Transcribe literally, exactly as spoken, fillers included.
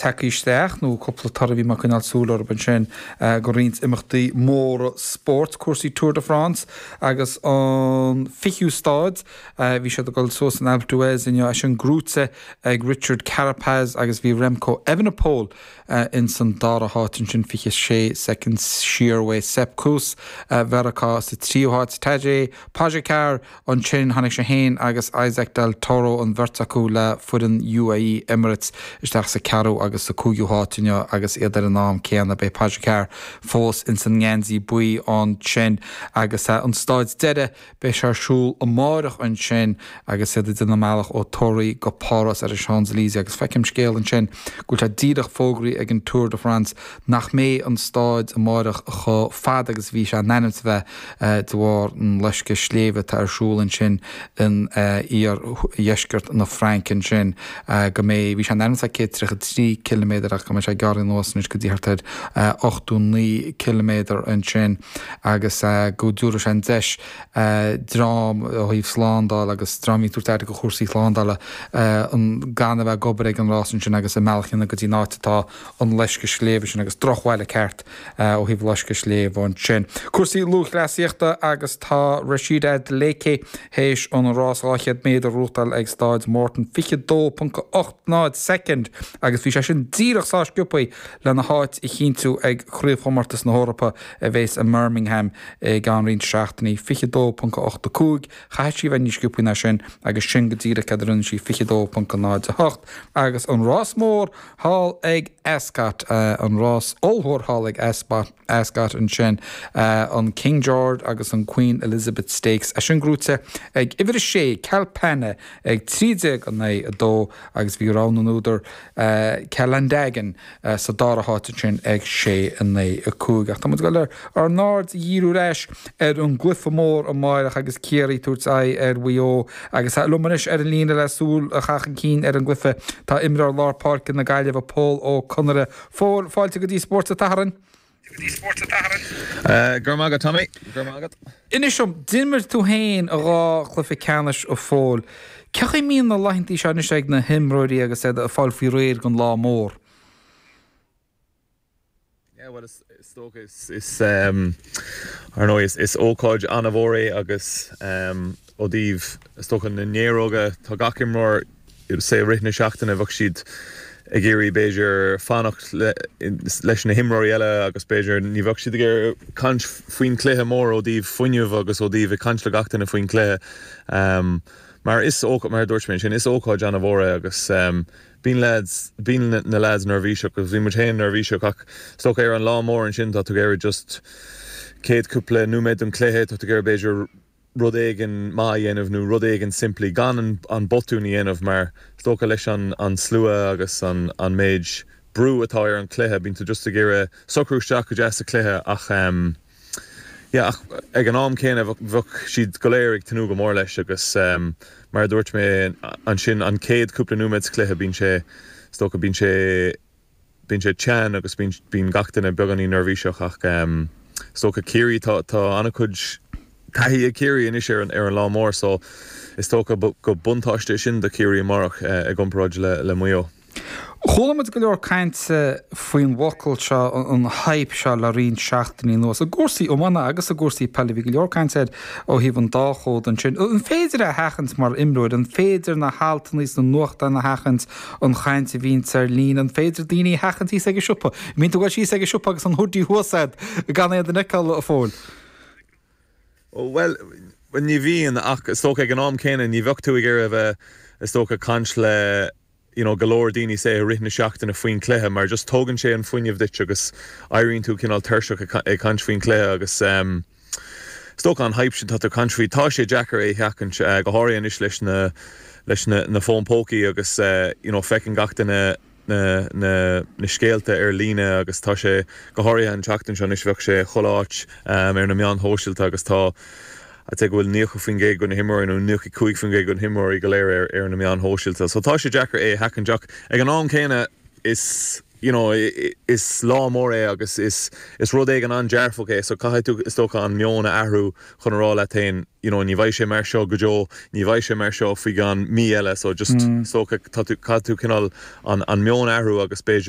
Tagtha isteach nó cúpla toradh a bhí mé ag coinneáil súil orthu ansin go roinnt imeachtaí móra spóirt, cúrsaí Tour de France agus an fichiú staid, bhí siad ag dul suas an Alpe d'Huez inniu, é sin gnóite ag Richard Carapaz agus bhí Remco Evenepoel ins an dara háit ansin fiche sé soicind siar uaidh. Sepp Kuss Mheiriceá sa tríú háit, Tadej Pogacar ansin, tháinig sé féin agus Isaac Del Toro, an bheirt acu le foireann UAE Emirates, isteach sa ceathrú agus sa cúigiú háit inniu agus iad ar an am céanna. Beidh Pogacar fós ins an ngeansaí buí ansin agus an staid deiridh, beidh sé ar siúl amáireach ansin agus iad ag déanamh a mbealach ó Tours go Páras ar an Champs-Élysées agus feicim scéal ansin go bhfuil sé díreach fógraithe ag an Tour de France nach mbeidh an staid amáireach chomh fada agus a bhí sé in ainm is a bheith de bharr an loisceadh sléibhe atá ar siúl ansin in iardheisceart na Fraince ansin go mbeidh, bhí sé in ainm is a bheith céad tríocha trí ciliméadar ach go mbeidh sé gearrtha anuas anois go dtí thart ar ochtó naoi ciliméadar ansin agus go dtabharfaidh sé an deis dream ó thaobh slándála agus dream a bhíonn ag tabhairt aire do chúrsaí slándála gan a bheith ag obair ag an rás ansin agus a mbealach a dhéanamh go dtí an áit atá an loisceadh sléibhe sin agus drochbhaile ceart ó thaobh loisceadh sléibhe ansin. Cúrsaí lúthchleasaíochta agus tá Rhasidat Adeleke théis an rás dhá chéad méadar a ghnóthachtáil ag Staid Morton, fiche dó ponc ocht náid soicind agus bhí sé sin díreach sách sciobtha lena háit a chinntiú ag Craobhchomórtas na hEorpa a bheas i mBirmingham i gceann roinnt seachtainí, fiche dó ponc a ocht a cúig. Chaithfeadh sí a bheith níos sciobtha ná sin agus sin go díreach céard a rinne sí, fiche dó ponc a náid a hocht. Agus an rás mór thall ag Ascot, an rás ollmhór thall ag Ascot ansin, an King George agus an Queen Elizabeth Stakes, é sin gnóite ag uimhir a sé, Kalpana, ag trí déag in aghaidh a dó agus bhí rogha na n-údar, Calandagan, sa dara háit ansin ag sé in aghaidh a cúig. Ach tá muid ag dul ár n-aird a dhíriú ar ais ar an gcluiche mór amáireach agus Ciarraí ag tabhairt aghaidh ar Mhaigh Eo agus liom anois ar an líne le súil a chaitheamh chun cinn ar an gcluiche tá imreoir lár páirce na Gaillimhe Pól Ó Conaire. Phóil, fáilte go dtí Spórt an tSathairn. Go raibh maith agat Tommy. Go raibh maith agat. Inis dom, d'imir tú féin dhá chluiche ceannais a Phóil. Cén chaoi a mbíonn na laethantaí seo anois ag na himreoirí agus iad ag fáil faoi réir don lá mór? Yeah, well is dócha is is ar ndóigh is is ócáid an-mhór é agus ó thaobh is dócha na néaróga tá gach imreoir say i rith na seachtaine bheadh siad ag iarraidh b'fhéidir fanacht leis na himreoirí eile agus b'fhéidir ní bheadh siad ag iarraidh caint faoin chluiche mór ó thaobh fuinneamh agus ó thaobh ag caint le gach duine faoin chluiche mar is mar a dúirt mé ansin is ócáid an-mhór é agus bíonn lads bíonn na lads neirbhíseach agus bhí muid féin neirbhíseach ach is dócha ar an lá mór ansin tá tú ag iarraidh just céad cúpla nóiméad den chluiche tá tú ag iarraidh b'fhéidir rud éigin maith a dhéanamh nó rud éigin simplí gan an an botún a dhéanamh mar is dócha leis an an slua agus an an méid brú atá ar an chluiche bíonn tú just ag iarraidh socrú isteach go deas sa chluiche ach um, yeah, ach ag an am céanna bheadh siad go léir ag tnúth go mór leis agus um, mar a dúirt mé ansin an chéad cúpla nóiméad sa chluiche bíonn sé is dócha bíonn sé bíonn sé teann agus bíonn bíonn gach duine beagáinín neirbhíseach ach um, is dócha Ciarraí tá tá an-chuid taithí ag Ciarraí anois ar an ar an lá mór so is dócha go buntáiste sin do Chiarraí amárach uh, i gcomparáid le le Maigh Eo. Chuala muid go leor cainte faoin bhfocal seo an hype seo le roinnt seachtainí anuas. I gcúrsaí iomána agus i gcúrsaí peile bhí go leor cainte air ó thaobh an dá chód ansin. An féidir a sheachaint mar imreoir, an féidir na haltanna sna nuachtáin a sheachaint an chaint a bhíonns ar líne, an féidir daoine a sheachaint thíos ag an siopa. Mbíonn tú ag dul síos ag an siopa agus an hoodie thuas agat gan aon duine a fheiceáil a Phóil. Well ní bhíonn ach is dócha ag an am céanna ní bheadh tú ag iarraidh a bheith is dócha caint le you know, go leor daoine say i rith na seachtaine faoin cluiche mar just tógann sé an fuinneamh duit agus éiríonn tú cineál tuirseach ag caint faoin cluiche agus um, is dócha an hype sin tá tú caint faoi tá sé deacair é sheachaint uh, go háirithe anois leis na leis na, na fón pócaí agus uh, you know, feiceann gach duine na, na, na scéalta ar líne agus tá sé go háirithe an tseachtain seo anois bheadh sé chuile áit um, ar na meáin shóisialta agus tá a te bhfuil níocha faoin gcéad de na himreoirí nó níocha cúig faoin gcéad de na himreoirí go léir ar ar na meáin shóisialta. So tá sé deacair é sheachaint ach ag an am céanna is you know is lá mór é agus is is rud éigin an-dearfach é so caithfidh tú is dócha an meon a athrú chun a rá leat féin you know ní bheidh sé mar seo go deo ní bheidh sé mar seo faoi cheann mí eile so just mm. so tá tú cineál an an meon athrú agus b'fhéidir